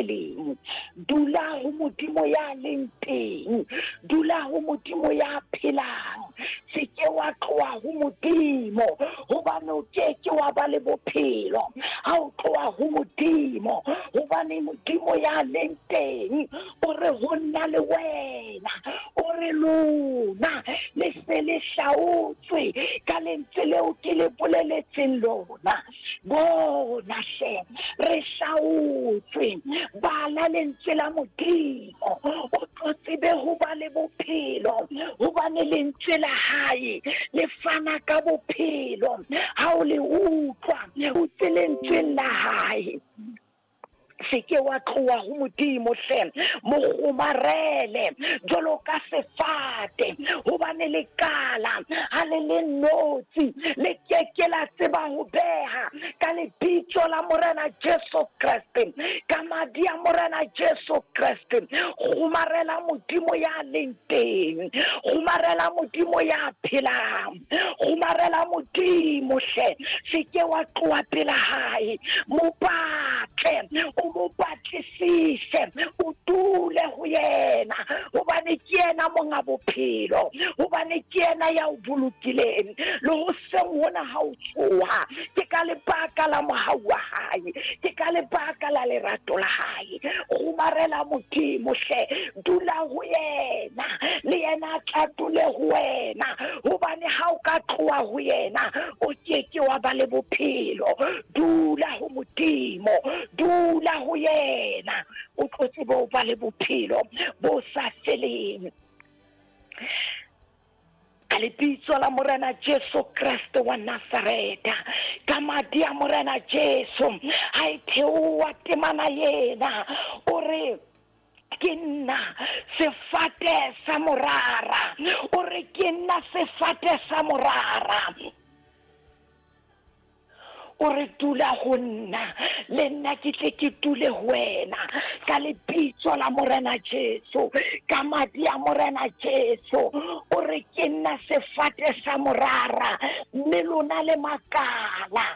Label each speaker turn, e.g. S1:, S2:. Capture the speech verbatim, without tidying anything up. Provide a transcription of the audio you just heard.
S1: feleng. Dula ho Modimo ya leng teng, dula ho Modimo ya phelang. Se ke wa tloha ho Modimo, hobane o ke ke wa ba le bophelo ha o tloha ho Modimo. Hobane Modimo ya leng teng o re ho nna le wena, o re lona le se le hlaotswe ka lentswe leo ke le boleletseng lona. Bona hle, re hlaotswe. Bala lentswe la Modimo, o tlo tsebe ho ba le bophelo, hobane lentswe la hae le fana ka bophelo. Ha o le utlwa, o tse lentsweng la hae. Se ke wa tloha ho Modimo hle, mo kgomarele jwalo ka sefate, hobane lekala ha le le notshi le ke ke la tseba ho beha. Ka lebitso la Morena Jesu Kreste, ka madi a Morena Jesu Kreste, kgomarela Modimo ya leng teng, kgomarela Modimo ya phelang, kgomarela Modimo hle. Se ke wa tloha pela hae, mo batle, o mo batlisise, o dule ho yena, hobane ke yena monga bophelo, hobane ke yena ya o bolokileng. Le hoseng hona ha o tsoha, ke ka lebaka la mohau wa hae, ke ka lebaka la lerato la hae. Kgomarela Modimo hle, dula ho yena, le yena a tla dule ho wena, hobane ha o ka tloha ho yena, o ke ke wa ba le bophelo. Dula ho Modimo, dula ho yena, o tlo tsebe ho ba le bophelo bo sa feleng. Ka lebitso la Morena Jesu Kreste wa Nazareta, ka madi a Morena Jesu, ha e theoha temana ena, o re ke nna sefate sa morara, o re ke nna sefate sa morara. O re dula ho nna, le nna ke tle ke dule ho wena. Ka lebitso la Morena Jesu, ka madi a Morena Jesu, o re ke nna sefate sa morara, mme lona le makala.